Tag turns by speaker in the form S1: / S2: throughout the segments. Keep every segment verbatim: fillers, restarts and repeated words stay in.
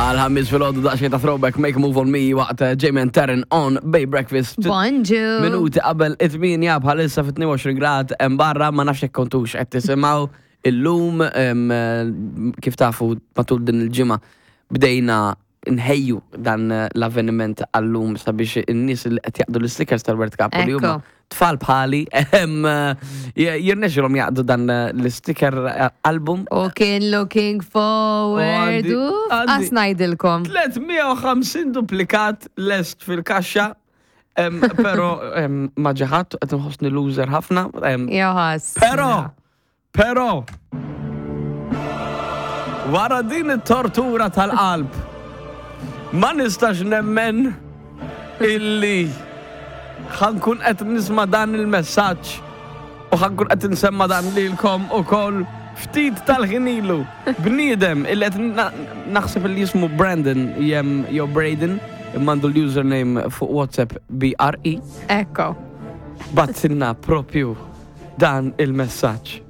S1: Għal-ħamis filgħodu daqsxejn ta' throwback Make a Move on Me waqt eh, Jamie and Taryn on Bay Breakfast.
S2: Bonġu.
S1: Minuti qabel it-tmienja, bħalissa fit tnejn u għoxrin grad hemm barra. Ma nafx jekk kontux qed tisimgħu illum. em, eh, kif tafu, matul din il-ġimgħa bdejna nħejju dan eh, l-avveniment għallum sabiex in-nies li qed jaqdu l-stickers tal-World Cup u li huma
S2: Ekku.
S1: tfal bħali em, eh, jirnexxilhom jaqdu dan eh, l-sticker eh, album.
S2: U kien looking forward.
S1: għandi-
S2: Uf,
S1: għandi-
S2: Għas ngħidilkom.
S1: tliet mija u ħamsin duplikat lest fil-kaxxa. Em, Pero em, ma ġaħat, qed nħossni loser ħafna. em,
S2: Joħas.
S1: Pero, pero, wara din it-tortura tal-qalb, ma nistax nemmen illi ħa nkun qed nisma' dan il-messaġġ u ħa nkun qed nsemma dan lilkom ukoll ftit tal-ħin ilu. Bniedem illi qed na- naħseb li jismu Brandon jem jew Braden, imma għandu l-username fuq WhatsApp B R E,
S2: Ekko.
S1: bagħtilna propju dan il-messaġġ.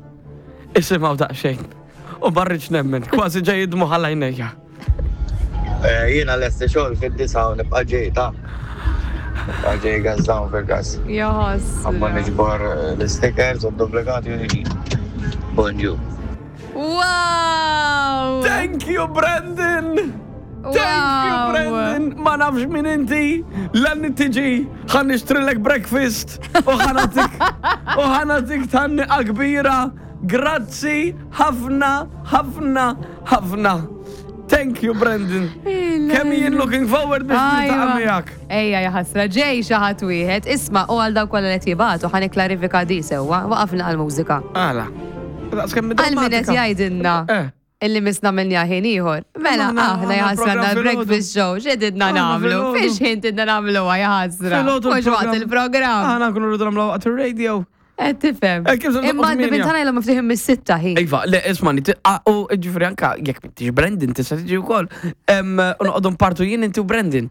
S1: Isimgħu daqsxejn. U ma rridx nemmen, kważi ġej id-dmugħ għajnejja.
S3: Eh, Jiena lesti xogħol fid-disgħa u nibqa' ġej ta' nibqa' ġej gas down fil-gas.
S2: Joħas.
S3: Għamma niġbor eh, l-stickers u d-duplikati u niġi. Bonġu.
S2: Wow!
S1: Thank you, Brandon! Thank you,
S2: Wow.
S1: Brandon! Ma nafx min inti, l-għanni tiġi, ħa nixtrilek breakfast u ħa nagħtik u ħa nagħtik tgħanniqa kbira. Grazzi, ħafna, ħafna, ħafna. Thank you, Brandon. Kemm jien looking forward biex niltaqa'
S2: Ajwa.
S1: miegħek.
S2: Ejja, jaħasra, ġej xi ħadd wieħed. Isma', u għal dawk kollha li qed jibagħtu, ħa nikklarifika di sewwa, waqafna għall-mużika.
S1: Għala. Daqs kemm
S2: Għal min qed
S1: drammatika.
S2: jgħidilna
S1: Eh.
S2: illi misna minna ħin ieħor. Mela,
S1: Aħna-
S2: aħna
S1: aħna
S2: jaħasra
S1: program
S2: għandna
S1: filgħodu.
S2: breakfast show, x'edidna
S1: Aħna
S2: nagħmlu?
S1: filgħodu.
S2: Fiex ħin tidna nagħmluha, jaħasra?
S1: Filgħodu.
S2: Mhux waqt il-programm.
S1: Aħna nkunu rridu nagħmlu waqt il-radio.
S2: Qed tifhem.
S1: Eh, kif se
S2: Imma
S1: noqgħod
S2: għandi
S1: tmienja?
S2: bintana ilhom miftuħin mis-sitta ħin.
S1: Iva, le, ismani, u ġifri anka, jekk m'intix Brandon, tista' tiġi wkoll. Em, U noqogħdu npartu jien, inti u Brandon.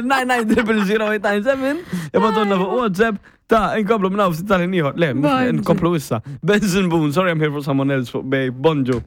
S1: nine nine zero zero eight nine seven, ibagħtulna fuq WhatsApp, ta' inkomplu minn hawn ftit tal-ħin ieħor. Le, mhux
S2: Bonġu.
S1: inkomplu issa. Benson Boone, "Sorry I'm Here for Someone Else" fuq Bay, bonġu.